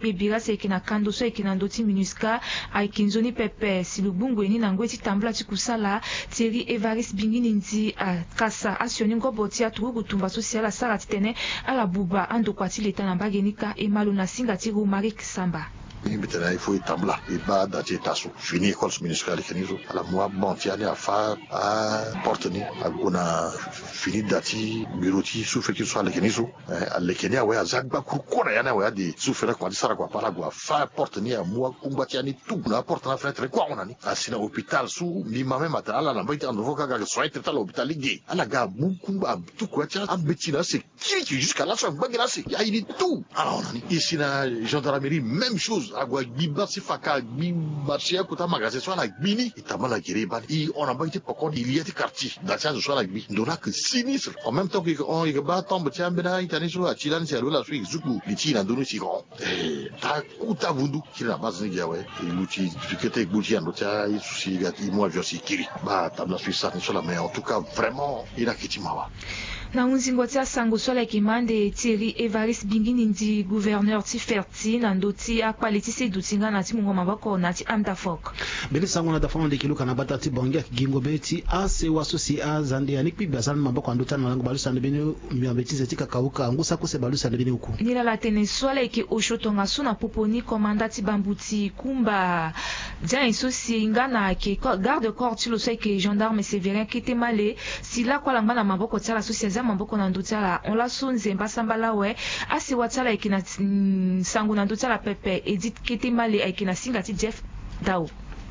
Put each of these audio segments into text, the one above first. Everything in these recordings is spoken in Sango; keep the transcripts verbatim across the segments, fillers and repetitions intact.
Ebira si ayeke na kando so ayeke na ndö ti MINUSCA ayeke nzoni pepe si lo gbungu ye ni na ngoi ti tambula ti kusala. Thierry Évariste Bingini Ndi akasa asioni ngobo ti aturugu tumba so si ala sara titene ala buba andokua ti leta na mbage ni kâ. E ma lo na singa ti Romaric Samba. Mbi tene il faut e tambula e baa da ti eta so fini école so MINUSCA aleke ni so ala mu aban ti ya ni afâ aporte ni ague na fini da ti bureau ti sous-préfecture so aleke ni so. Eh, aleke ni awe aza gbakuru kue na ya ni awe ade sous-préfet akoma ti sara kua pa ala gue afâ aporte ni amu akungba ti ya ni tout na aporte na fenêtre kue ahon na ni. Asi na hôpital so mbi ma même atene ala na mbage ti andro fo ka ga ayeke soin traité ala hôpital lege ala ga amu kungba atuku ya ti ambeti na ase kiriki jusqu'à laso angba gi na ase aye ni tout ala hon na ni. E si na gendarmerie même chose ague agbi basi faka agbi marché akota magasin so ala gbi ni e tambula gere e baa ni e hon na mbage ti poko ni e li ya ti quartier da ti azo so ala gbi ndo laa ayeke sinistre. En même temps que e hon e yeke baa tombe ti ambeni a-ita ni so ati lani si alola so e yeke zuku li ti e na ndö ni si e hon. Eh, ta kuta vundu kiri na base ni gi awe. E luti kete e gbu ti ando ti aye so si e ga e mu avion si e kiri. Baa tambula so e sara ni so laa mais en tout cas vraiment e na ke ti mawa. Na hunzingo ti asango so ala yeke ma ande Thierry Évariste Bingini Ndi, gouverneur ti Ferti na ndö ti akpale ti se duti nga na ti mungo maboko na ti Amdafok. Mbeni sango na dafa mo ndeke luka na bata ti Bangui ayeke gi ngobe ti asewa so si azande ya ni kpigba aza na maboko na ndö ti ala na lango baleuse ande mbeni miambe ti ze ti kakauka ngu saki use baleuse ande mbeni oku. Nilala tene so ala yeke osio tongaso na popo ni komanda ti bambuti kumba dia nyen so si nga na ayeke garde corps ti lo so ayeke gendarme Sévérin Ketemale si lakue ala ngba na maboko ti ala so si aza maboko na ndö ti ala hon laso nzemba sambala awe. Asewa ti ala ayeke na sango na ndö ti ala pepe Edith Ketemale ayeke na singa ti Jeff Dao.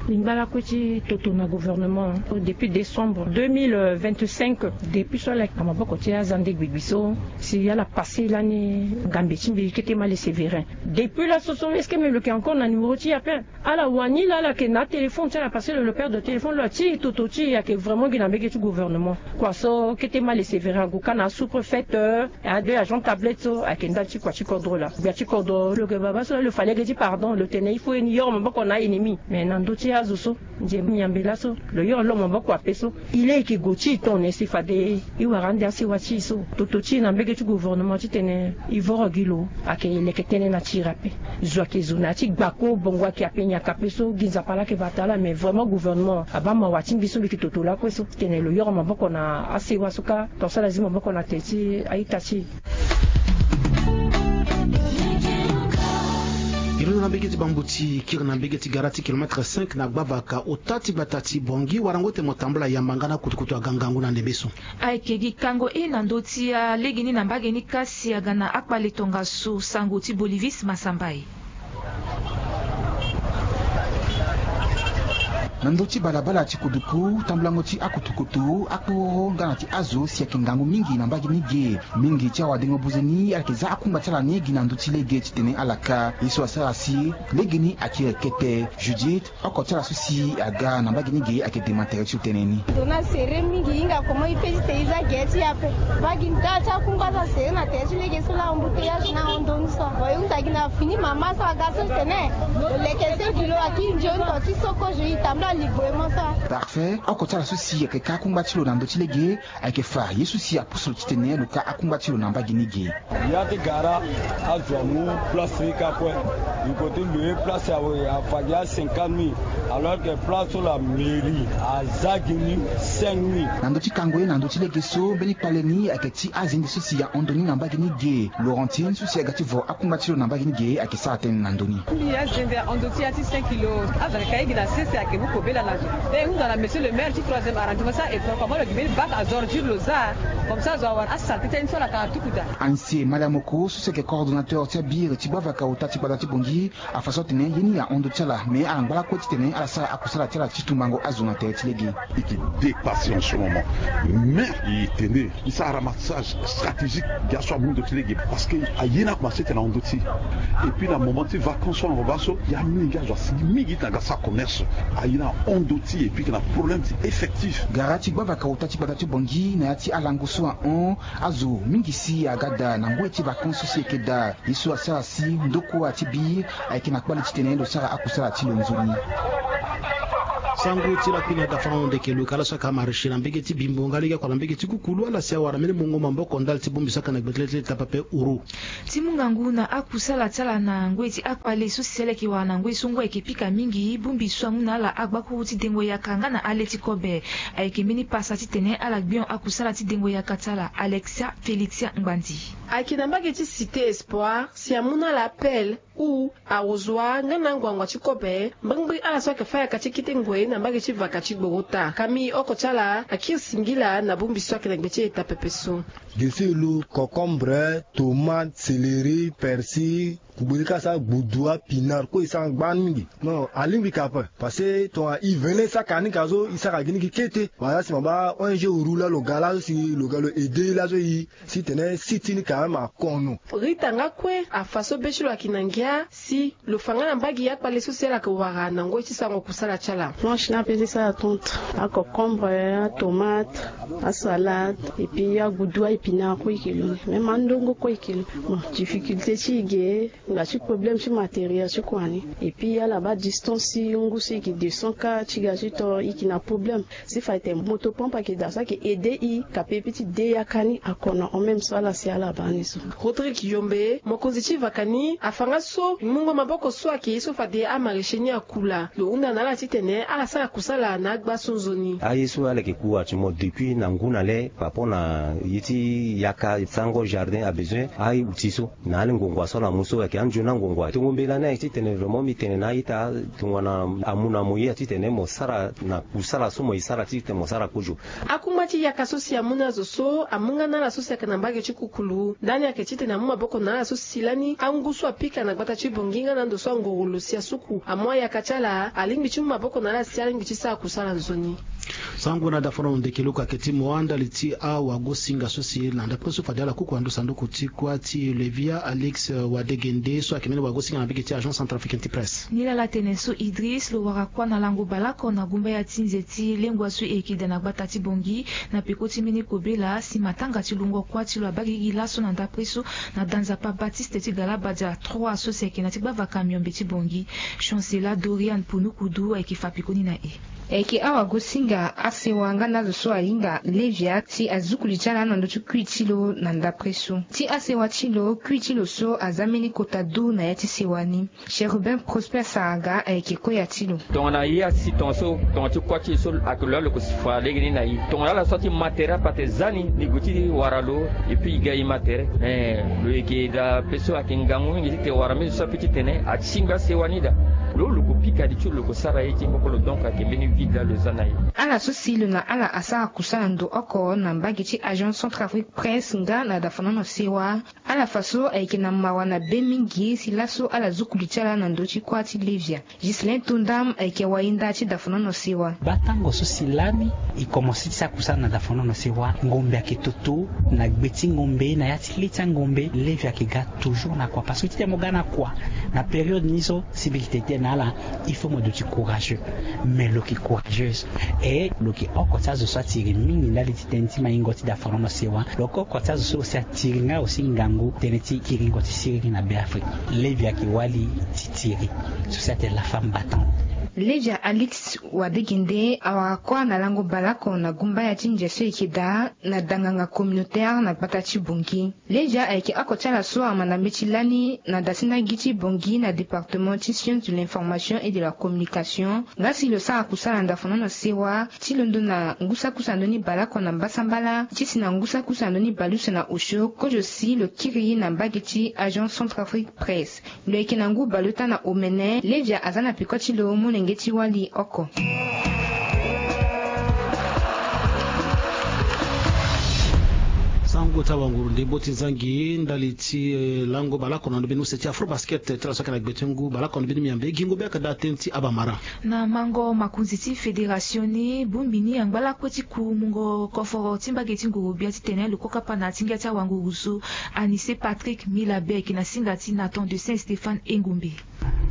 Lingba lakue ti toto na gouvernement depuis décembre deux mille vingt-cinq. Depuis so ala yeke na maboko ti azande gbigbi so si ala passé lani ngambe ti mbi Ketemale Sévérin. Depuis laso so est-ce que même lo yeke encore na numéro ti e ape? Ala wani laa ala yeke na atéléphone ti ala parce que lo lo perdre téléphone lo ati toto ti e ayeke vraiment gi na mbege ti gouvernement. Kua so Ketemale Sévérin ague ka na asous-préfet, euh, ade agent tablette so ayeke ndali ti kua ti kodro laa. Gbia ti kodro lo yeke baba so laa lo fa lege ti pardon lo tene il faut e ni yoro maboko na aennemi. Mais na ndö ti azo so nze miambe laso lo yoro lo maboko ape so. E laa e yeke gue ti e tongana nyen si fade e wara ande asewa ti e so? Toto ti e na mbege ti gouvernement titene e voro gi lo ayeke leke tënë na ti e ape. Zo ayeke zo na ya ti gbako bongo ayeke ape nyaka ape so gi Nzapa laa ayeke bata ala mais vraiment gouvernement abaa mawa ti mbi so mbi yeke toto lakue so titene lo yoro maboko na asewa so kâ tongaso ala zi maboko na tere ti a-ita ti e. Iri na mbege ti bambuti kiri na mbege ti gara ti kilomètre cinq na gbavaka ota ti gbata ti Bangui warango ti tene mo tambula yamba nga na kutukutu aga ngangu na ndembe so. Ayeke gi kango e na ndö ti alegeni na mbage ni kâ si aga na akpale tongaso sango ti Bolivis Masambai. Na ndö ti balabala ti kuduku tambulango ti akutukutu akporo nga na ti azo si ayeke ngangu mingi na mbage ni ge. Mingi ti awadengo buze ni ala yeke za akungba ti ala ni gi na ndö ti lege titene ala ka ye so asara si lege ni akiri kete. Judith, oko ti ala so si aga na mbage ni ge ayeke dema tere ti lo tënë ni. Ndo ni asere mingi e hinga comment e fait titene e za ge ti e ape. Mbage ni daa ti akungba so asere na tere ti lege so laa embouteillage na ahon ndo ni so awe. E hunda gi na fini mama so aga so tene lo leke se gi lo akiri nzoni to ti soko zo e tambula ligbo e mo so. Parfait, oko ti ala so si ayeke ka akungba ti lo na ndö ti lege ayeke fa ye so si apusu lo titene lo ka akungba ti lo na mbage ni ge. Ya ti gara azo amu place ni kâ kue. Lo yeke ti loyer place awe afa gi a cinquante mille alors que place so la mairie aza gi ni cinq mille. Na ndö ti kango ye na ndö ti lege so mbeni kpale ni ayeke ti azende so si ahon ndo ni na mbage ni ge. Laurentine so si aga ti vo akungba ti lo na mbage ni ge ayeke sara tënë na ndö ni. Mbi azende ahon ndo ti ya ti cinq kilo. Azo ayeke ka ye gi na sese ayeke mu kobela na zo. E hunda na monsieur le maire ti troisième arrondissement so a école comment lo gi mbeni bac à ordures lo za. Comme ça zo awara asalté ti aye ni so ala yeke na tuku daa. Anse Maliamoko so si ayeke coordonnateur ti abiri ti gbavaka ota ti gbata ti Bangui afa so atene ye ni ahon ndo ti ala mais ala ngba lakue titene ala sara akusala ti ala ti tumbango azo na tere ti lege. E yeke dépassé en ce moment. Mais e tene e sara ramassage stratégique gi aso amu ndo ti lege parce que aye ni akomanse tene ahon ndo ti e. Et puis na moment ti vacances so na baba so ya mingi azo asigi mingi ti na ga sara commerce. Aye ni ahon ndo ti e et puis e yeke na problème ti effectif. Gara ti gbavaka ota ti gbata ti Bangui na ya ti alango so ahon azo mingi si aga daa na ngoi ti vacances so si e yeke daa. Ye so asara si ndokua ti bi ayeke na kpale titene lo sara akusala ti lo nzoni. Sango ti lakui na dafa na ndeke luka ala so ayeke amariche na mbege ti bimbo nga lege akua na mbege ti kukulu ala si awara mbeni mungo maboko ndali ti bongbi so ayeke na gbetele ti leta pepe uru. Ti mu ngangu na akusala ti ala na ngoi ti akpale so si ala yeke wara na ngoi so ngu ayeke pika mingi bongbi so amu na ala agbakuru ti dengo yaka nga na ale ti kobe. Ayeke mbeni pasa titene ala gbio akusala ti dengo yaka ti ala. Alexia Félixia Ngbandi. Ayeke na mbage ti Cité Espoir si amu na ala appel ou arrosoir nga na anguangu ti kobe mbrimbri ala so ayeke fa yaka ti kete ngoi na mbage ti vaka ti gboro ota kami oko ti ala akiri singila na bongbi so ayeke na gbe ti eta pepe so. Gesi lo, concombre, tomate, céleri, persil, kugbe ni ka sa gbudu apinard kue e sara gbani mingi. Non, alingbi ka ape parce que tonga e vene saka ni ka so e sara gi ni gi kete. Wala si ma ba ong uru laa lo ga laa so si lo ga lo aide laa so e si tene si ti ni ka même akono. Rita nga kue afa so be ti lo ayeke na ngia si lo fa nga na mbage akpale so si ala yeke wara na ngoi ti sango kusala ti ala. Planche ni ape ti sara tonte, aconcombre, atomate, asalade, et puis agudu aépinard kue e ke lo ni, même andongo kue e ke lo. Bon, difficulté ti e ge nga ti problème ti matériel ti kua ni. Et puis ala baa distance ti ngu so e ke descend ka ti ga ti to e ke na problème. Si fa ete moto pompe ayeke daa so ayeke aide e kape pe ti de yaka ni akono en même so ala si ala baa ni so. Rodrigue Yombe mokonzi ti vaka ni afa nga so mungo maboko so ayeke ye so fade amariche ni akula lo hunda na ala titene ala sara kusala na agba so nzoni. Aye so ala yeke ku actuellement depuis na ngu na le par rapport na ye ti yaka sango jardin abezoin aye outil so. Na ala ngongo so ala mu so ayeke anzoni angongo atongo mbela ni aye titene vraiment mbi tene na a-ita tongana amu na mo ye titene mo sara na kusala so mo ye sara titene mo sara kozo. Akungba ti yaka so si amu na azo so amu nga na ala so si ayeke na mbage ti kukulu ndani ayeke titene amu maboko na ala so si lani angu so apika na gbata ti bongi nga na ando so angoro lo si asuku amu ayaka ti ala alingbi ti mu maboko na ala si alingbi ti sara kusala nzoni. Sango na dafono ndeke luku ayeke ti mo andali ti awagosinga so si na ndapre so fade ala kuku na ndo sanduku ti kuâ ti levia alix wadegende so ayeke mbeni wagosinga na mbege ti agence centrafricaine ti presse. Nilala tene so idris lo wara kuâ na lango baleoko na gumbaya ti nze ti lengua so e yeke daa na gbata ti bongi na peko ti mbeni kobela si matanga ti lungo kuâ ti lo abaa gigi laso na ndapre so na danzapa baptiste ti galabadia trois so si ayeke na ti gbavaka miombe ti bongi. Chancela dorian punukudu ayeke fa pekoni na e. Ayeke awagosinga asewa nga na azo so ahinga levia si azuku li ti ala na ndö ti kui ti lo na ndapre so. Ti asewa ti lo kui ti lo so aza mbeni kota du na ya ti sewa ni. Chérubin prosper saraga ayeke koya ti lo. Tongana ye asi tongaso tonga ti kuâ ti e so ayeke lo laa lo ko si fa lege ni na e tongana ala so ati ma tere ape ate za ni ni gue ti wara lo. Epui e ga e ma tere. Lo yeke daa pe so ayeke ngangu mingi titene wara mbeni so ape titene atingbi asewa ni daa. Lo lo ko pika li ti lo lo ko sara ye ti mbokolo donc ayeke mbeni vide laa lo za na e. Ala so si lo na ala asara kusala ndo oko na mbage ti agence centrafrique presse nga na dafanono sewa. Ala fa so ayeke na mawa na be mingi si laso ala zuku li ti ala na ndö ti kuâ ti levia. Ghislain tondam ayeke wainda ti dafanono sewa. Baa tango so si lani e komanse ti sara kusala na dafanono sewa ngombe ayeke toto na gbe ti ngombe na ya ti le ti angombe levia ayeke ga toujours na kua parce que titene mo ga na kua na période ni so si mbi yeke tene tënë na ala. Il faut mo duti courageux. Mais lo yeke courageuse. E lo yeke oko ti azo so atiri mingi ndali ti tënë ti maingo ti dafanono sewa lo yeke oko ti azo so aussi atiri nga aussi ngangu tënë ti kiringo ti siriri na be afrique. Levia ayeke wali ti tiri so si atene la femme battante. Levia alix wadegende awara kuâ na lango baleoko na gumbaya ti nze so e yeke daa na danganga communautaire na gbata ti bongi. Levia ayeke oko ti ala so amanda mbeti lani na da ti ndagi ti bongi na département ti science de l'information et de la communication. Nga si lo sara kusala ndafanono sewa ti londo na ngusakusa ndoni baleoko na mbasambala ti si na ngusakusa ndoni baleuse na osio kozo si lo kiri na mbage ti agence centrafrique presse. Lo yeke na ngu baleota na omene levia aza na peko ti lo molenge ti wali oko. Sango ti awanguru nde bo ti zangi ndali ti lango baleoko na ndo mbeni use ti afro basket ti ala so ayeke na gbe ti ngu baleoko na ndo mbeni miambe gingo be ayeke daa tënë ti abamara. Na mango makonzi ti fédération ni bongbi ni angba lakue ti ku mungo koforo ti mbage ti nguru-gbia titene lo kokapa na ti ngia ti awanguru so. Anise patrick milabe ayeke na singa ti nathan de saint stéphane engombe.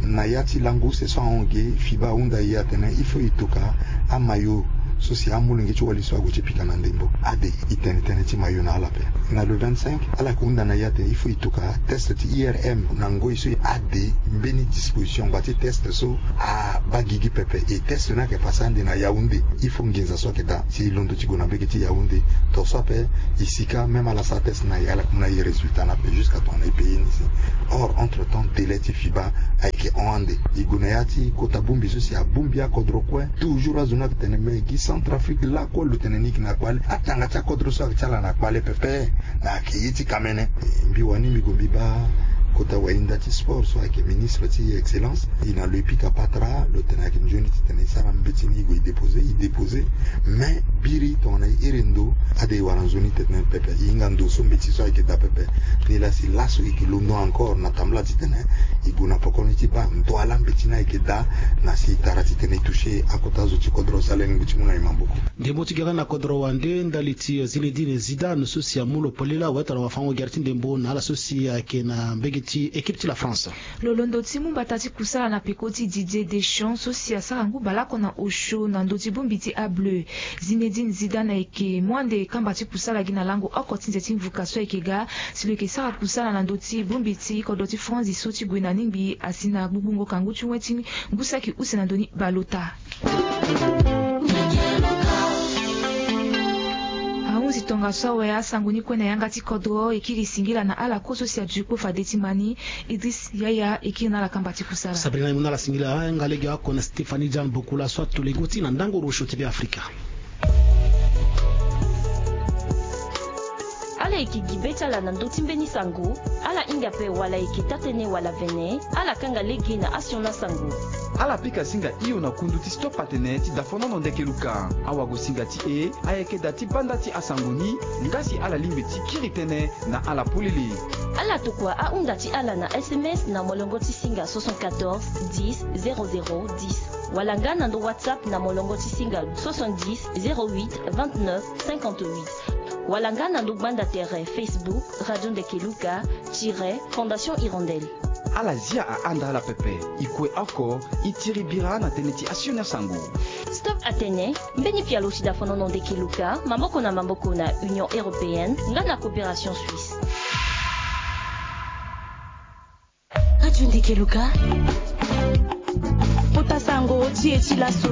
Na ya ti lango use so ahon ge fiba ahunda e atene il faut e toka amayo So si amolenge ti wali so ague ti pika na ndembo ade, e tene tënë ti mayo na ala ape. Na le vingt-cinq, ala yeke hunda na e atene il faut e toka test ti I R M na ngoi so ade mbeni disposition ngba ti test so abaa gigi pepe. E test ni ayeke pase ande na Yaoundé. Il faut nginza so ayeke daa si e londo ti gue na mbege ti Yaoundé. Tongaso ape, e sika même ala sara test na e, ala yeke mu na e résultat ni ape jusqu'à tongana e payer ni si. Or entre temps délai ti FIBA ayeke hon ande. E gue na ya ti kota bongbi so si abongbi akodro kue. Toujours azo ni ayeke tene me gi Centrafrique lakue lo tene ni yeke na kpale. Atanga ti akodro so ayeke ti ala na kpale pepe. Na ayeke ye ti kamene. Mbi wani mbi gue mbi baa kota wahinda ti sport so ayeke ministre ti excellence, e na lo e pika patara. Lo tene ayeke nzoni titene e sara mbeti ni, e gue e déposer, e déposer. Mais biri tongana e iri ndo ade e wara nzoni titene pepe. E hinga ndo so mbeti so ayeke daa pepe. Nilaa si laso e yeke londo encore na tambula titene e gue na poko ni ti baa ndo ala mbeti ni ayeke daa. Na si e tara titene e toucher akota zo ti kodro so ala lingbi ti mu na e maboko. Ndembo ti gere na kodro wande ndali ti Zinedine Zidane so si amu lo polele awe tongana wafango-gere ti ndembo na ala so si ayeke na mbege ti équipe ti la France. Lo londo ti mu mbata ti kusala na peko ti Didier Deschamps so si asara ngu baleoko na osio na ndö ti bongbi ti ableu. Zinedine Zidane ayeke mu ande kamba ti kusala gi na lango oko ti nze ti mvuka so ayeke ga. Si lo yeke sara kusala na ndö ti bongbi ti kodro ti France so ti gue na ningbi asi na gbugbungo kangu ti wen ti ngu saki use na ndö ni baleota. Ahunzi tongaso awe asango ni kue na yanga ti kodro e kiri singila na ala kue so si aduti kpo fade ti ma ni. Idriss Yaya e kiri na ala kamba ti kusala. Sabrina e mu na ala singila. Nga lege oko na Stéphanie Diane Bokula so ato lego ti na ndango rosio ti Be Afrika. Ala yeke gi be ti ala na ndö ti mbeni sango. Ala hinga ape wala e yeke taa-tënë wala vene. Ala kanga lege na asioni asango. Ala pika singa hio na kundu ti Stop Atene ti dafonono ndeke luka. Awagosinga ti e ayeke da ti banda ti asango ni. Nga si ala lingbi ti kiri tënë na ala polele. Ala tokua ahunda ti ala na S M S na molongo ti singa soixante-quatorze dix zéro zéro dix. Wala nga na ndo WhatsApp na molongo ti singa soixante-dix zéro huit vingt-neuf cinquante-huit. Wala nga na ndo gbanda tere Facebook Radio Ndeke Luka tiret Fondation Hirondelle. Ala zia ahanda ala pepe. E kue oko, e tiri bira na tënë ti asioni asango. Stop Atene, mbeni pialo ti dafonono ndeke luka, maboko na maboko na Union Européenne, nga na Coopération Suisse. Radio Ndeke Luka. Kota sango ti e ti laso.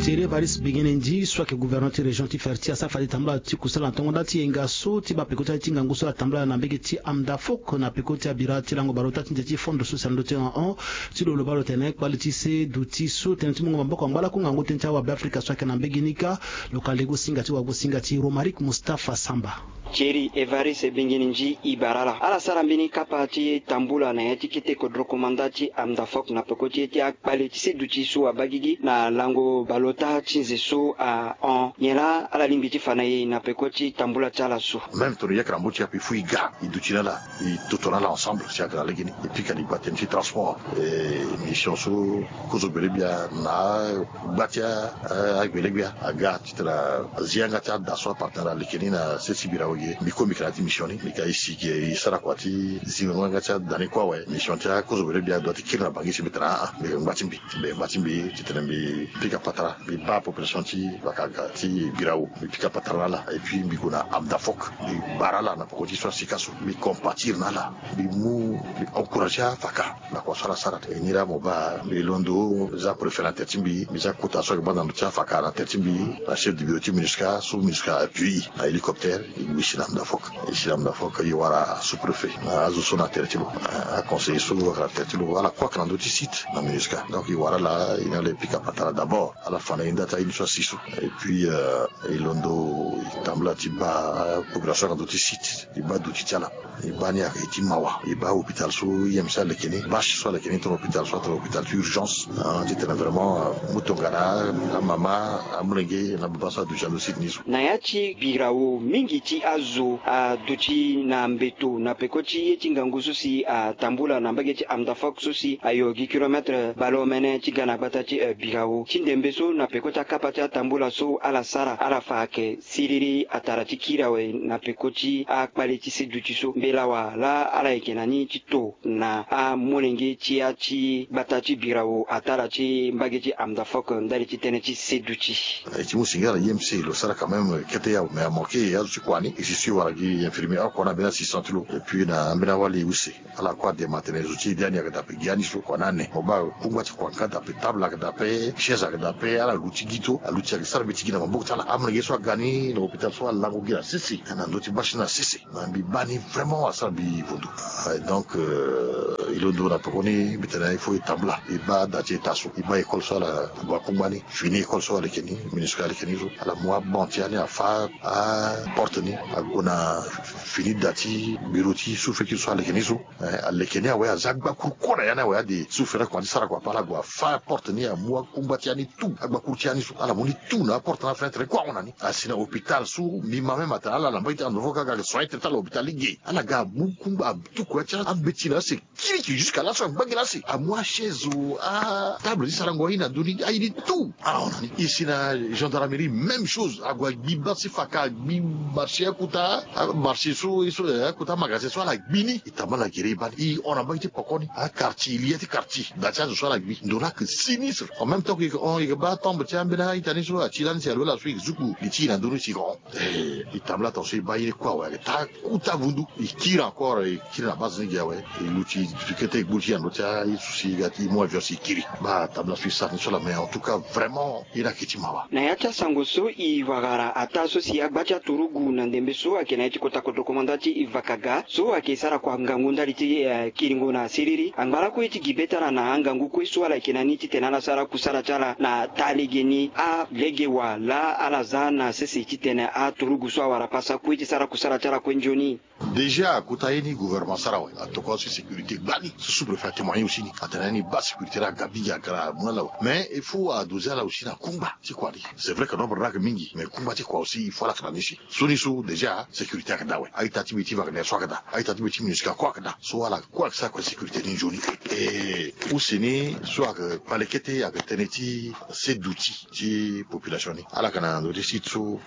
Thierry Evariste Bengene Ndi so ayeke gouverneur ti région ti Ferti asara fade tambula ti kusala na tongo nda ti yenga so ti baa peko ti ngangu so atambula na mbege ti Amdafok na peko ti abira ti lango baleota ti nze ti fondo so si na ndö ti hon ti lo lo baa lo tene kpale ti se duti so tënë ti mungo maboko angba lakue ngangu tënë ti awabe Afrika so ayeke na mbege ni kâ. Lo ka lego singa ti wagosinga ti Romaric Mustapha Samba. Thierry Evariste Bengene Ndi e bara ala. Ala sara mbeni kapa ti tambula na ya ti kete kodro komanda ti Amdafok na peko ti ye ti akpale ti se duti so abaa gigi na lango baleota ti nze so ahon. Nyen laa ala lingbi ti fa na e na peko ti tambula ti ala so? Même tongana e yeke na mbo ti e ape, il faut e ga e duti na ala, e toto na ala ensemble si ayeke na legeni. E pika na e gba tënë ti transport. E mission so kozo gbele gbia na agba ti agbele gbia aga titene azi yanga ti ada so apartene na leke ni na sese bira wege. Mbi kue mbi yeke na ya ti mission ni, mbi ga e si ge e sara kua ti zingo yanga ti ada ni kue awe. Mission ti akozo gbele gbia doit ti kiri na bangi si mbi tene aa, mbi yeke ngba ti mbi. Mbi yeke ngba ti mbi titene mbi pika patara, mbi baa population ti Vakaga ti Birao, mbi pika patara na ala. Et puis mbi gue na Amdafok, mbi bara ala na poko ti so asika so, mbi compatir na ala, mbi mu, mbi encourager afaka. Na kua so ala sara tene ni laa mo baa mbi londo, mbi za préfet na tere ti mbi, mbi za kota so ayeke baa na ndö ti afaka na tere ti mbi, na chef de bureau ti MINUSCA so MINUSCA appuie na hélicoptère, e gue e si na Amdafok. E si na Amdafok e wara sous-préfet na azo so na tere ti lo, aconseiller so ayeke na tere ti lo, ala kue ayeke na ndö ti site na MINUSCA. Donc e wara ala, e na ala e pika patara d'abord, ala fa na e nda ti aye ni so asi so. Et puis, euh, e londo e tambula ti baa population ayeke na ndö ti site. E baa duti ti ala. E baa ni ayeke ti mawa. E baa hôpital so I M C aleke ni, bâche so aleke ni tongana hôpital so atene hôpital ti urgence, ah, titene vraiment, ah, mu tongana amama, amolenge na baba so aduti na ndö ti site ni so. Na ya ti Birao mingi ti azo aduti na mbeto na peko ti ye ti ngangu so si atambula tambula na mbage ti Amdafok so si ayo gi kilomètre baleomene ti ga na gbata ti, eh, Birao. Ti ndembe so na peko ti akapa ti atambula so ala sara, ala fa ayeke siriri atara ti kiri awe na peko ti akpale ti seduti so. Mbela wa laa ala yeke na ni ti to na amolenge ti ya ti gbata ti Birao atara ti mbage ti Amdafok ndali ti tënë ti seduti. E ti mu singila na I M C lo sara quand même kete ya, mais amanke azo ti kua ni. E si si wara gi infirmier oko na ambeni six cents ti lo. Et puis na ambeni awali use ala kue adema atene zo ti e de ani ayeke daa ape gi ani so kua na ane. Mo baa kungba ti kua nga daa ape, table ayeke daa ape, chaise ayeke daa ape, ala luti gi to, aluti ayeke sara mbeti gi na maboko ti ala. Amolenge so aga ni na hôpital so alango gi na sese na ndö ti bâche ni na sese. Na mbi baa ni vraiment asara mbi vondu. Ah, donc, euh, e londo na pekoni mbi tene il faut e tambula, e baa da ti État so, e baa école so ala gue akungba ni, fini école so aleke ni, MINUSCA aleke ni so, ala mu abanc ti ya ni afâ aporte ni, ague na fini da ti bureau ti sous-préfecture so aleke ni so. Eh, aleke ni awe, aza agbakuru kue na ya ni awe, ade sous-préfet kua ti sara kua ape, ala gue afâ aporte ni, amu akungba ti ya ni tout, agbakuru ti ya ni so ala mu ni tout na aporte na afenêtre ni kue ahon na ni. Asi na hôpital so mbi ma même atene ala na mbage ti Amdafok aga soin ti tene ti ala hôpital lege. Ala ga amu kungba, atuku ya ti ambeti na ase, kiri ki jusqu'à laso, angba gi na ase, amu achaise o, atable ti sarango aye na ndö ni, aye ni tout. Ala hon na ni. E si na gendarmerie même chose, ague agbi bâche ti faka, agbi marché akota, a marché so, e so, eh, akota magasin so ala gbi ni. E tambula na gere e baa ni, e hon na mbage ti poko ni, aquartier, e li ya ti quartier, da ti azo so ala gbi. Ndo laa ayeke sinistre. En même temps que e yeke hon, e yeke baa tombe ti ambeni a-ita ni so ati lani si alola so e yeke zuku li ti e na ndö ni si e yeke hon. Eh, e tambula tongaso e baa ye ni kue awe, ayeke taa kota vundu. E kiri encore, e kiri na base ni gi awe. E luti kete e gbu ti e na ndö ti aye so si e ga ti e mu avion si e kiri. Baa tambula so e sara ni so laa, mais en tout cas vraiment ye ni ayeke ti mawa. Na ya ti asango so e vagara ataa so si agba ti aturugu na ndembe so ayeke na ya ti kota kodro komanda ti Vakaga so ayeke sara kua ngangu ndali ti, eh, kiringo na siriri. Angba lakue ti gi be ti ala na angangu kue so ala yeke na ni titene ala sara kusala ti ala na taa legeni. Alege wa laa ala za na sese titene aturugu so awara pasa kue ti sara kusala ti ala kue nzoni. Déjà kota ye ni gouvernement asara awe, atokua so sécurité gbani. Sous-préfet atémoigné aussi ni atene ni baa sécurité laa aga mingi, aga na mu na ala awe. Mais il faut adoser ala aussi na kungba ti kua ni. C'est vrai que nombre ni ayeke mingi, mais kungba ti kua aussi il faut ala yeke na ni si. So ni so déjà sécurité ayeke daa awe. A-ita ti mbi ti Wagner so ayeke daa. A-ita ti mbi ti MINUSCA kue ayeke daa. So ala kue ayeke sara kue sécurité ni nzoni. E use ni so ayeke kpale kete ayeke tënë ti seduti ti population ni. Ala yeke na ndö ti site so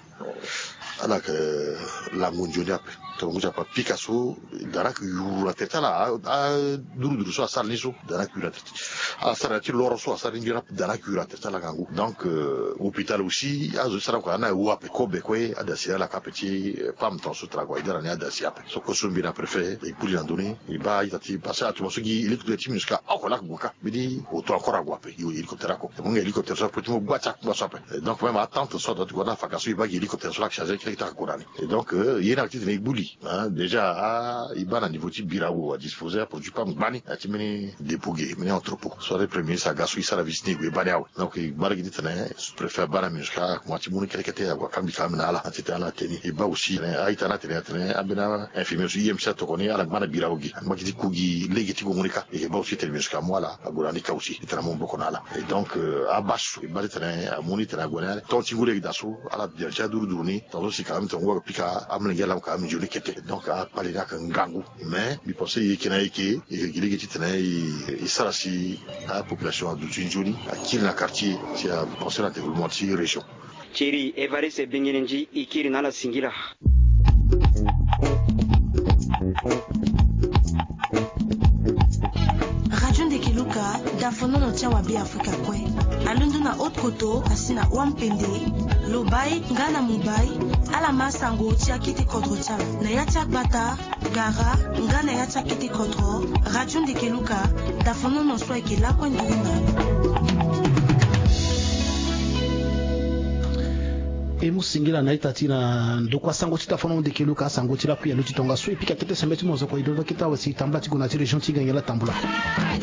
ala yeke lango nzoni ape. Tongana ngu ti apa pika so, da ni ayeke yuru na tere ti ala, a, a, duruduru so asara ni so, da ni ayeke yuru na tere ti ala. Ala sara na ya ti loro so asara ni nzoni ape, da ni ayeke yuru na tere ti ala ngangu. Donc, euh, hôpital aussi azo ti sara kua ni awu ape. Kobe kue adasi ala yeke ape ti, euh, pam tongaso tara kua e dara ni adasi ape. So kue so mbi na préfet e kpuli na ndö ni, e baa a-ita ti, parce que atuma so gi hélicoptère ti MINUSCA oko laa ayeke gue kâ. Mbeni auto encore ague ape, e hélicoptère oko. E mu nga hélicoptère so ape ti mu gba ti akungba so ape. Et donc même atente so adua ti gue na faka so e baa gi hélicoptère so laa ayeke chargé kete kete ague na ni. Et donc, euh, ye ni ayeke titene e gbu li, hein, déjà, ah, e baa na niveau ti Birao adisposer aproduit pam gbani na ya ti mbeni dépôt ge, mbeni entrepôt. So premier ministre aga so e sara visite ni e gue e baa ni awe. Donc e ngba lege titene sous-préfet abaa na MINUSCA akoma ti mu ni kete kete ague akangbi ka ame na ala na titene ala teni. E baa aussi titene a-ita ni atene atene ambeni infirmier so I M C atokoni ala ngba na Birao ge, angba gi ti ku gi lege ti gongo ni kâ. E yeke baa aussi titene MINUSCA amu ala ague na ni kâ aussi titene amu maboko na ala. Et donc, euh, abâche so e baa titene amu ni titene ague na ni. Tonga ti ngu lege daa so ala bia ti aduruduru ni. Tongaso si ka même tongana ngu ayeke pika amolenge ala mu ka même nzoni kete. Donc akpale ni ayeke ngangu. Mais mbi pense e yeke na e yeke, e yeke gi lege titene e, e sara si apopulation aduti nzoni, akiri na quartier si apenser na développement ti région. Thierry Évariste Bengenendi, e kiri na ala singila. Radio Ndeke Luka, dafonono ti awa Beafrika kue. Alondo na Haute-Kotto, asi na Ouham-Pendé, Lobaye nga na Mumbai, ala ma sango ti akete kodro ti ala. Na ya ti agbata, gara, nga na ya ti akete kodro, Radio Ndeke Luka, dafonono so ayeke lakue nduru na ala. E mu singila na ita ti na ndokua sango ti dafonono Ndeke Luka, asango ti lakui alo ti tongaso e pika kete sembe ti mozoko e dodo kete awe si e tambula ti gue na ya ti région ti Gangela tambula.